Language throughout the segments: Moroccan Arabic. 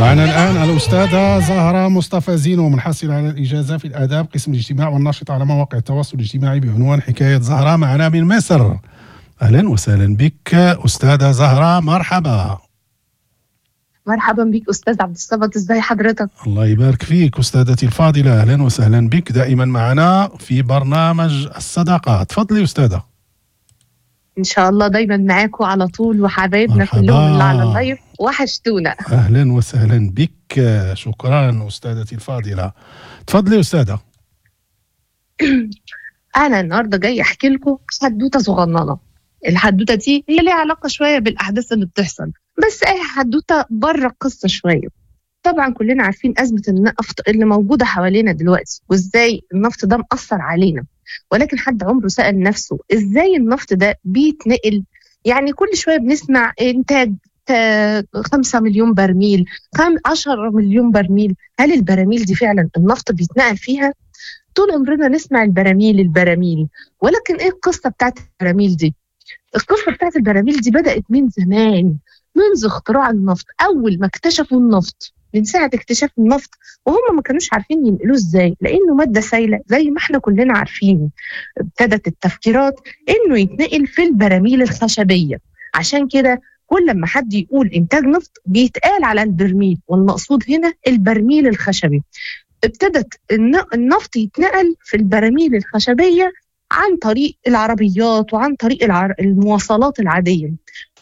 معنا الآن الأستاذة زهرة مصطفى زينو، منحصلة على الإجازة في الآداب قسم الاجتماع والناشطة على مواقع التواصل الاجتماعي بعنوان حكاية زهرة، معنا من مصر. أهلا وسهلا بك أستاذة زهرة، مرحبا. مرحبا بك أستاذ عبد الصمد، ازاي حضرتك؟ الله يبارك فيك أستاذتي الفاضلة، أهلا وسهلا بك دائما معنا في برنامج الصداقة. تفضلي أستاذة. إن شاء الله دايما معاكم على طول، وحبايبنا كلهم اللي على ال live وحشتونا. أهلا وسهلا بك، شكرا أستاذتي الفاضلة. تفضلي أستاذة. أنا النهاردة جاي أحكي لكم حدوتة صغننة. الحدوتة دي هي ليها علاقة شوية بالأحداث اللي بتحصل، بس أي حدوتة بره القصة شوية. طبعا كلنا عارفين أزمة النفط اللي موجودة حوالينا دلوقتي، وإزاي النفط ده مأثر علينا، ولكن حد عمره سأل نفسه إزاي النفط ده بيتنقل؟ يعني كل شوية بنسمع إنتاج 5 مليون برميل، 10 مليون برميل. هل البراميل دي فعلا النفط بيتنقل فيها؟ طول عمرنا نسمع البراميل البراميل، ولكن إيه القصة بتاعت البراميل دي؟ القصة بتاعت البراميل دي بدأت من زمان، منذ اختراع النفط. أول ما اكتشفوا النفط، من ساعة اكتشاف النفط وهم ما كانوش عارفين ينقلوه ازاي، لأنه مادة سايلة زي ما احنا كلنا عارفين. ابتدت التفكيرات انه يتنقل في البراميل الخشبية. عشان كده كل ما حد يقول إنتاج نفط بيتقال على البرميل، والمقصود هنا البرميل الخشبي. ابتدت النفط يتنقل في البراميل الخشبية عن طريق العربيات وعن طريق المواصلات العادية،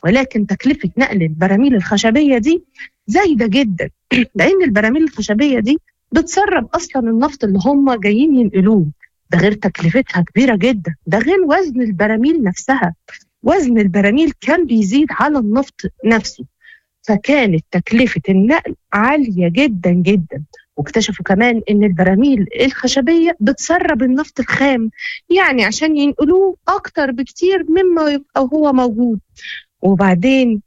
ولكن تكلفة نقل البراميل الخشبية دي زايدة جدا، لأن البراميل الخشبية دي بتسرب أصلا النفط اللي هم جايين ينقلوه، ده غير تكلفتها كبيرة جدا، ده غير وزن البراميل نفسها. وزن البراميل كان بيزيد على النفط نفسه، فكانت تكلفة النقل عالية جدا جدا. واكتشفوا كمان ان البراميل الخشبية بتسرب النفط الخام، يعني عشان ينقلوه اكتر بكتير مما يبقى هو موجود. وبعدين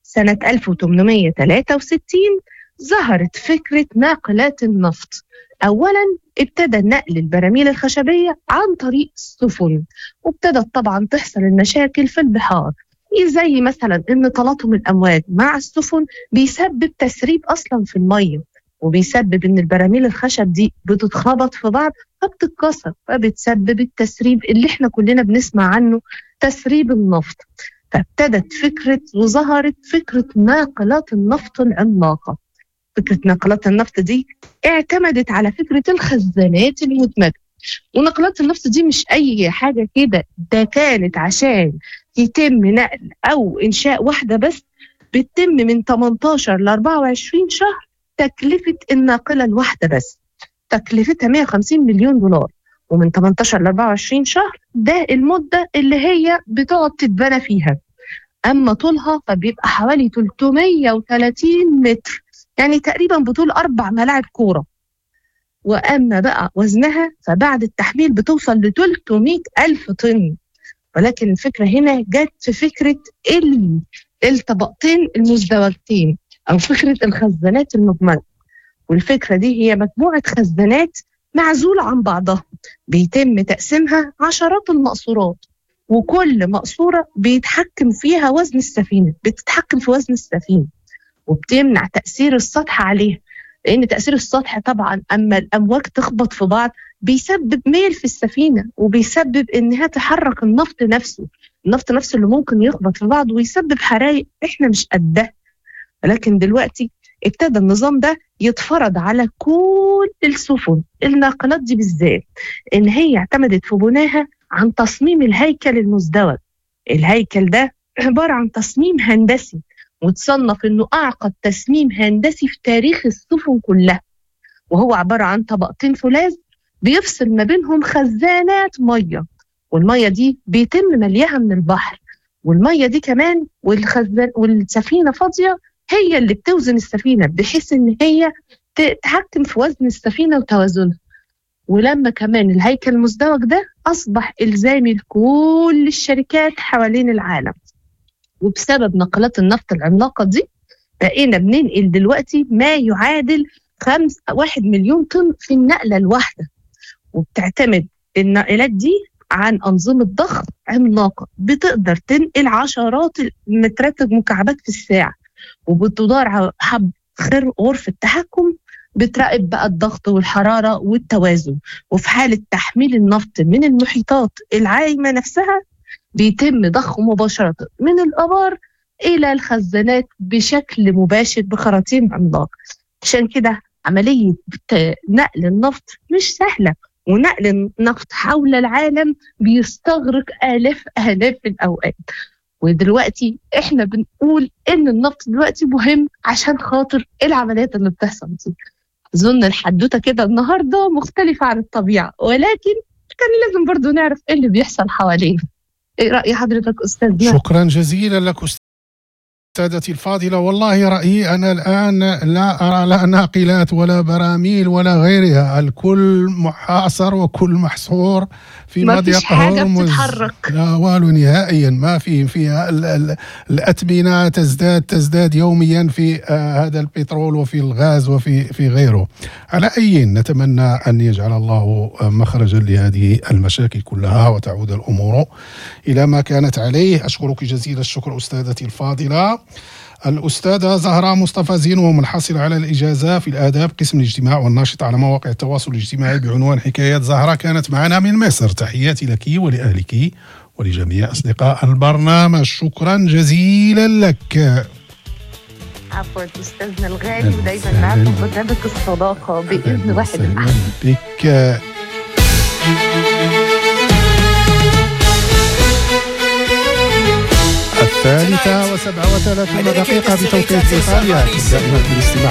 سنة 1863 ظهرت فكرة ناقلات النفط. أولا ابتدى نقل البراميل الخشبية عن طريق السفن، وابتدت طبعا تحصل المشاكل في البحار، زي مثلا ان تلاطم الأمواج مع السفن بيسبب تسريب أصلا في المية، وبيسبب ان البراميل الخشب دي بتتخبط في بعض فبتتكسر، فبتسبب التسريب اللي احنا كلنا بنسمع عنه، تسريب النفط. فابتدت فكرة وظهرت فكرة ناقلات النفط العملاقة. فكرة ناقلات النفط دي اعتمدت على فكرة الخزانات المدمجة. وناقلات النفط دي مش أي حاجة كده، ده كانت عشان يتم نقل أو إنشاء واحدة بس بتتم من 18 ل 24 شهر تكلفة الناقلة الواحدة بس، تكلفتها 150 مليون دولار، ومن 18 ل 24 شهر ده المدة اللي هي بتقعد تتبنى فيها. أما طولها فبيبقى حوالي 330 متر، يعني تقريبا بطول 4 ملاعب كورة. وأما بقى وزنها فبعد التحميل بتوصل ل 300 ألف طن. ولكن الفكرة هنا جت في فكرة الطبقتين المزدوجتين، أو فكرة الخزانات المجملة. والفكرة دي هي مجموعة خزانات معزولة عن بعضها، بيتم تقسيمها عشرات المقصورات، وكل مقصورة بيتحكم فيها وزن السفينة، بتتحكم في وزن السفينة، وبتمنع تأثير السطح عليها، لأن تأثير السطح طبعا أما الأمواج تخبط في بعض بيسبب ميل في السفينة، وبيسبب إنها تحرك النفط نفسه، النفط نفسه اللي ممكن يخبط في بعض ويسبب حرايق إحنا مش قدها. ولكن دلوقتي ابتدى النظام ده يتفرض على كل السفن الناقلات دي بالذات، إن هي اعتمدت في بناها عن تصميم الهيكل المزدوج. الهيكل ده عبارة عن تصميم هندسي، وتصنف إنه أعقد تصميم هندسي في تاريخ السفن كلها، وهو عبارة عن طبقتين فولاذ بيفصل ما بينهم خزانات مية، والمية دي بيتم مليها من البحر، والمية دي كمان والخزان والسفينة فاضية هي اللي بتوزن السفينة، بحيث إن هي تتحكم في وزن السفينة وتوازنها. ولما كمان الهيكل المزدوج ده أصبح إلزامي لكل الشركات حوالين العالم. وبسبب ناقلات النفط العملاقة دي بقينا بننقل دلوقتي ما يعادل 1 مليون طن في النقلة الواحدة. وبتعتمد الناقلات دي عن أنظمة ضخ عملاقة بتقدر تنقل عشرات المترات المكعبات في الساعة، وبتدار غرفة تحكم بتراقب بقى الضغط والحرارة والتوازن. وفي حالة تحميل النفط من المحيطات العايمة نفسها بيتم ضخه مباشرة من الآبار إلى الخزانات بشكل مباشر بخراطيم عملاق. عشان كده عملية نقل النفط مش سهلة، ونقل النفط حول العالم بيستغرق آلاف آلاف الأوقات. ودلوقتي احنا بنقول ان النفط دلوقتي مهم عشان خاطر العمليات اللي بتحصل دي. اظن الحدوتة كده النهارده مختلفة عن الطبيعة، ولكن كان لازم برضو نعرف ايه اللي بيحصل حوالينا. ايه راي حضرتك استاذنا؟ شكرا جزيلا لك أستاذتي الفاضلة. والله رأيي أنا الآن لا أرى لا ناقلات ولا براميل ولا غيرها، الكل محاصر وكل محصور في مضيق هرمز، لا والو نهائيا، ما في فيها الأثمنة تزداد يوميا في هذا البترول وفي الغاز وفي غيره. على أي نتمنى أن يجعل الله مخرجا لهذه المشاكل كلها وتعود الأمور إلى ما كانت عليه. أشكرك جزيل الشكر أستاذتي الفاضلة الأستاذة زهرة مصطفى زينو، منحصرة على الإجازة في الآداب قسم الاجتماع والناشطة على مواقع التواصل الاجتماعي بعنوان حكايات زهرة، كانت معنا من مصر. تحياتي لك ولأهلك ولجميع أصدقاء البرنامج، شكرا جزيلا لك. عفوا أستاذنا الغالي، ودايما معكم برنامج الصداقة بإذن واحد الأحد بك. 3:37 بتوقيت إيطاليا. دائما في الاستماع